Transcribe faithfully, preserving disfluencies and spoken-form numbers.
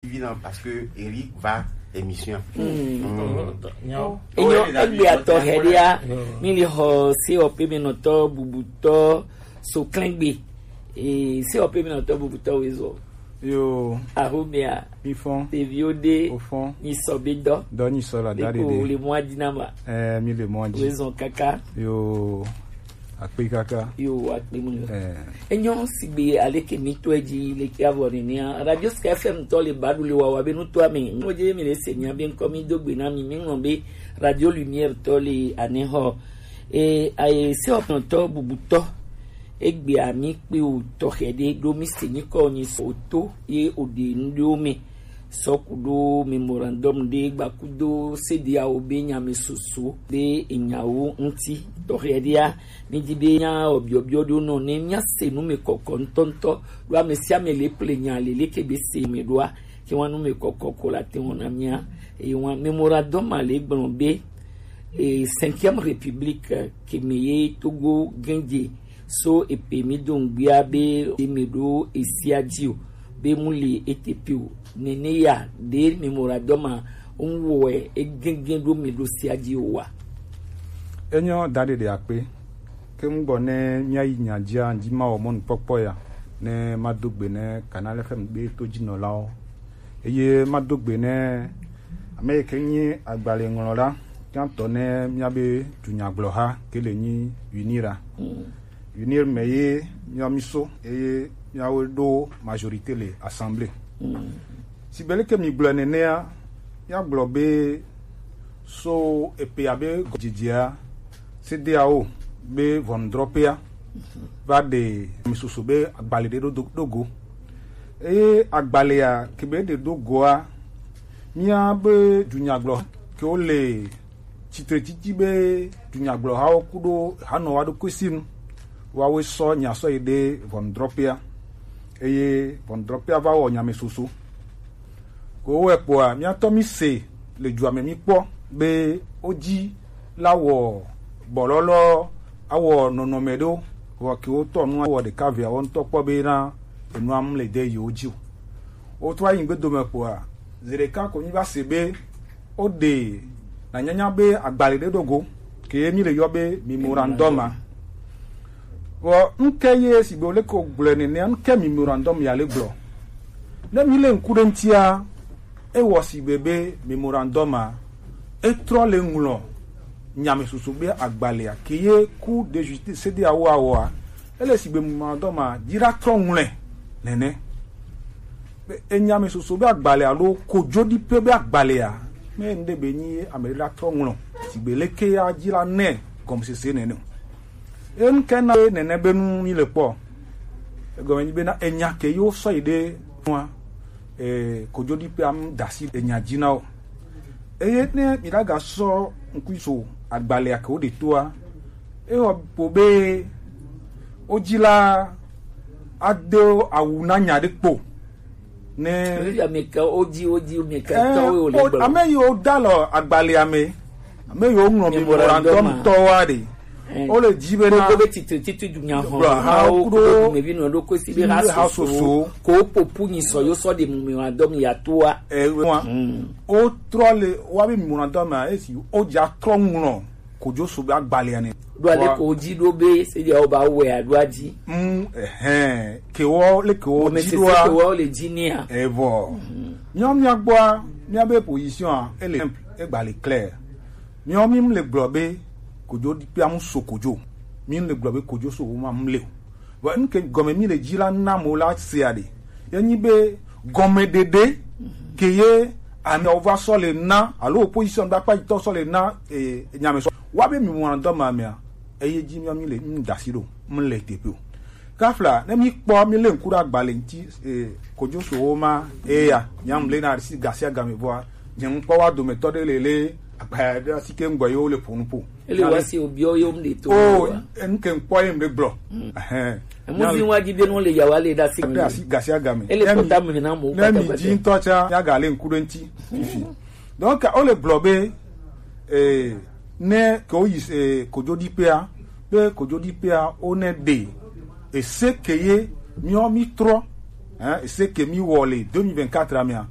Évident parce que Eric va émission. Enyo, egbe atɔ hɛria, mi li xɔ se ɔpe mi nɔtɔ bubutɔ so klɛngbe. Eh, se ɔpe mi nɔtɔ bubutɔ wezɔ. Yo, Ahomia, mi fɔn, teviwo de, o fɔn, ni sɔ be dɔ. Dɔ ni sɔ la, da de de. Le mɔ adina ma. Eh, mi le mɔ adi. Wezɔn kaka. Yo, akpe kaka. Yo, akpe mu. Eh. Enyo sigbe aleke mi to edzi leke avɔ nenea. Radio Sky F M tɔ le baɖu le wawa be nutoa me. Ŋlɔ dze mi le se nya be ŋkɔ mi do gbe na mi. Mi ŋlɔ be Radio Lumière tɔ le anexɔ. E, aye se ɔpɔntɔ bubutɔ. Egbea mi kpe o tɔxɛ ɖe ɖo mi se nyikɔ nyi sɔ to ye o ɖe nu ɖewo me. Sɔ ku ɖo memorandum ɖe gba ku do C D A O be nya me soso ɖe enyawo ŋuti tɔxɛ ɖea. Mi di be nya obiɔbiɔ ɖo nɔ ne mia se nu me kɔkɔ ŋutɔŋutɔ ɖo ame sia ame le ple nya le leke be se me ɖoa ke wa nu me kɔkɔ ko la te wɔna mia. Eye wa memorandum ma le gblɔ be e, Cinquième République, eh, ke me ye Togo gɛnje so epe mi do ŋgbia be eme ɖo esia dzi o, be mu li etepi o. Nene ya ɖe memorandum ma ŋwɔe egɛgɛ ɖo mi ɖo sia dzi o wa. Enyo da ɖeɖe akpe. Ke ŋgbɔ ne mia yi nya dzia, ŋdzi ma wɔ mɔnukpɔkpɔ ya, ne ma do gbe ne Canal F M be to dzi nɔlawo. Eye ma do gbe ne ame yi ke nyi agbalẽ ŋlɔla gãtɔ ne mia be dunyagblɔha ke le nyi UNIR a. UNIR me ye mia mi so eye miawo ɖo majorité le assemblée. Sigbe leke mi gblɔe nenea, mia gblɔ be so epe abe gɔdzidzia, C D A O be ʋɔnudrɔƒea va ɖe mi soso be agbalẽ ɖe ɖo do- ɖo go. Eye agbalẽa ke be ɖe ɖo goa, mia be dunyagblɔ ke wo le tsitretsitsi be dunyagblɔhawo kuɖo hanɔwa ɖo kwesi nu, woawoe sɔ nya sɔ yi ɖe ʋɔnudrɔƒea, eye ʋɔnudrɔƒea va wɔ nya me soso. Ko wowɔe kpɔa, míatɔ mi se le dua me mi kpɔ be wodzi la wɔ bɔlɔlɔ awɔ nɔnɔme ɖewo, wɔ ke wotɔ nu awɔ ɖeka vea wo ŋutɔ kpɔ be na enua mu le de yiwo dzi o. Wotrɔ yi ŋgbedo me kpɔa, zi ɖeka ko mi va se be woɖe nanyanya be agbalẽ ɖe ɖo go ke ye mi le yɔ be memorandum a. Vɔ ŋke ye sigbe wo leke wo gblɔe nenea, ŋke memorandum ya le gblɔ? Ne mi le ŋku ɖe ŋutia, ewɔ sigbe be memorandum a, etrɔ le ŋlɔ nyame soso be agbalẽa ke ye ku de justice C D A O awɔa, ele sigbe memorandum a dzi ɖa trɔ ŋlɔe nene. Be enya me soso be agbalẽ alo kojoɖiƒe be agbalẽa, me ŋɖe be nyi ame ɖe la trɔ ŋlɔ sigbe leke ya dzi la nɛ gɔmesese nene o. Enu ke na ye nene be nu mi le kpɔ. Egɔme nyi be na enya ke yo sɔ yi ɖe nua, eh, kojoɖiƒea mu da asi enya dzi na wo. Eye ne mi ɖaga sɔ ŋkui so agbalẽa ke wo ɖe toa, ewɔ kpo be wo dzi la ade awu na nya ɖe kpo. Ne Ebi ame ke wo dzi, wo dzi, ame ke Eh, tɔwo wo le o- gblɔ. Ame yiwo da lɔ agbalẽa me, ame yiwo ŋlɔ Memorandum memorandum a. Tɔwoa ɖe, Eh. Wo le dzi be na Gbogbo be titi titi dunya hɔn gblɔ ha hawo kudo kudo dumevi nɔ ɖo kosi be ha ha soso. Soso. Ko popu nyi sɔ yo sɔ de memorandum ya toa. Eh, wa. Mm. Wo trɔ le wa be memorandum a esi wo dza trɔ ŋlɔ kojo so be agbalẽa ne. Ɖo ale Wa- ko dzi ɖo be se dia wo ba wɛ aɖo adzi. Mm, ehɛn, ke wo le ke wo Ame dzi sese ɖoa. Ke wo le dzi nia. Evɔ. Míawo mía gbɔa, míabe position a, ele simple, egba le clair. Míawo mí le gblɔ be kojo ɖiƒea mu so kojo. Mí le gblɔ be kojo so wo ma mu le o. Vɔ nu ke gɔme mí le dzi la na mo la sea ɖe. Ye nyi be gɔmeɖeɖe ke ye ameawo va sɔ le na, alo opposition be akpa yitɔ sɔ le na, eh, nyamesɔ. Wa be mi wɔna dɔ ma mea, eye dzi mía mí le, mí da asi ɖo, mí le teƒe o. Kafla, ne mí kpɔ, mí le ŋku ɖe agbalẽ ŋuti, eh, kojo so wo ma, eya, mía mí le na asi gasi agame vɔa, nye ŋkpɔ wa dometɔ ɖe le le, agbalẽ ɖe asi ke ŋgbɔ ye wo le ƒo nu ƒo. Ele wa si obiɔ ye wo mle to. Oh, wa. Enu ke ŋkpɔ ye mle gblɔ. Mm. Ehɛn. Emu vi wa di be no le yawa le da si. Ɖe asi gasi agame. Ele kpɔta me na mo. Ne mi dzi ŋutɔ tsa, ya ga le ŋku ɖe ŋuti, fifi. Donc, wo le gblɔ be, eh, ne ke wo yi, eh, kojoɖiƒea, be kojoɖiƒea wo ne ɖe, ese ke ye míɔ mí trɔ, hein, ese ke mí wɔ le deux mille vingt-quatre mea,